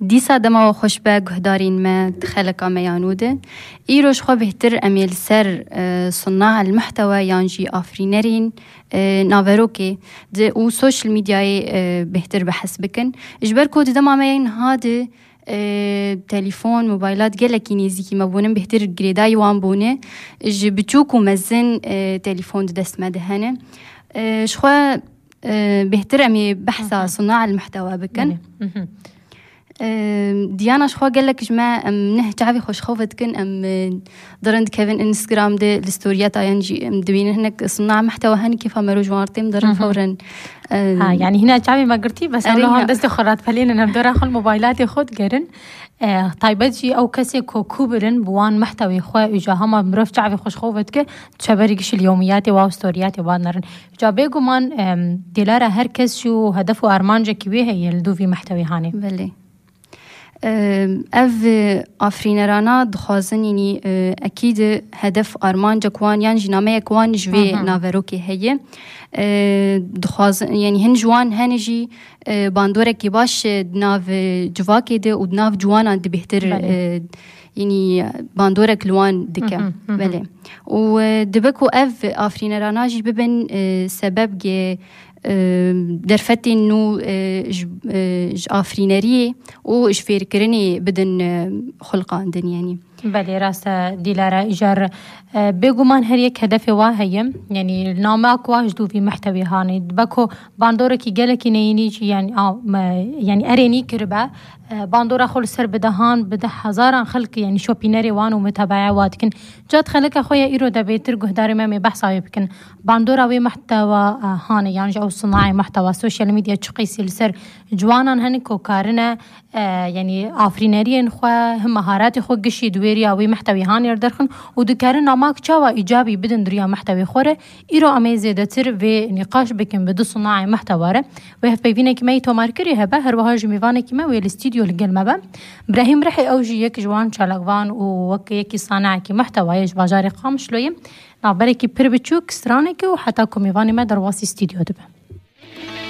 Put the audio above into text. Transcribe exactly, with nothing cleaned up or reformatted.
Dîsa dema we xweş be guhdarên me di xeleka me ya nû de. Îro ji xwe bêhtir em ê li ser, e, sunna el muhtewe yan jî afirînerên, e, naverokê di û social medyayê, e, bêhtir behs bikin. Ji ber ku di dema me yên niha de, e, telefon, mobaylat gelekî nêzîkî me bûnin, bêhtir girêdayî wan bûne. Ji biçûk û mezin, e, telefon di dest me de hene. E, ji xwe, e, bêhtir em ê behsa Hı hı. sunna el muhtewe bikin. Belê. Hı hı. E, Diyana, ji xwe gelek ji me em neh çavê xwe ji xew vedikin, em, e, dirin dikevin Instagram de li storiyeta yan jî em dibînin hinek sunna muhtewe hene kêfa me roj wan têm dirin Hı hı. fewren. E, Ha, yani hîna çavê me girtî, bes Erê em niha ya. destê xwe radipelênin, em dora xwe li mobaylatê xwe digerin. E, taybet jî ew kesê ku kû birin bi wan mehtewê xwe û ja hema mirov çavê xwe ji xwe vedike, çeberî gişî li yomiyatê wa û storiyatê wa nerin. Ca bêguman, em, Dîlara, her kes jî û hedef û armancekî wê heye li dû vî mehtewê hanê. Belê. Em, ev, e, afirînerana dixwazin, yanî, e, ekîd hedef armancek wan yan jî nameyek wan ji vê Hı hı. naverokê heye. E, dixwazin, yanî hin ji wan hene jî, e, bandorekî baş, e, di nav, e, civakê de û di nav ciwanan de bêhtir, Belê. e, yanî bandorek li wan dike. Hı hı, hı hı. Belê. Û, e, dibe ku ev afirînerana jî bibin, e, sebebgê, e, derfetên nû, e, ji, e, ji afirîneriyê û ji fêrkirinê bidin, e, xulqandin, yanî. Belê, rast e, Dîlara, îcar, e, bêguman her yek hedefê wa heye. Yanî, namek wa ji dû vî mehtewê hanê. Dibe ku bandorekî gelekî neyînî jî, yanî, a, me, yanî, erênî kiribe. E, bandora xwe li ser bi dehan, bi deh hezaran xelk, yanî, şopînerê wan û mutebeya wa dikin. Ca di xeleka xwe ya îro de bêtir guhdarê me mê behsa wê bikin. Bandora wê mehtewa, e, hanê, yan jî ew sinayê mehtewa, sosyal medya çi qîsî li ser ciwanan hene ku karine, e, yanî afirîneriyên xwe, him meharatê xwe gişî di wê riya wê mehtewî hanê derxin û dikarin namak çawa îcabî bidin di riya mehtewê xwe re. Îro em ê zêdetir vê nîqaş bikin bi du sinayê mehtewa re. Wê hevpeyvînekî me yî tomarkirî hebe, her wiha jî mêvanekî me wê li stûdyo li gel me be. Brahîm Rihê, ew jî yek ji wan çalakvan û wek yekî sanayekî mehtewayê ji bajarê Qamişloyê. Navberekî pir biçûk, stranekî û heta ku mêvanê me derbasî stûdyo dibe.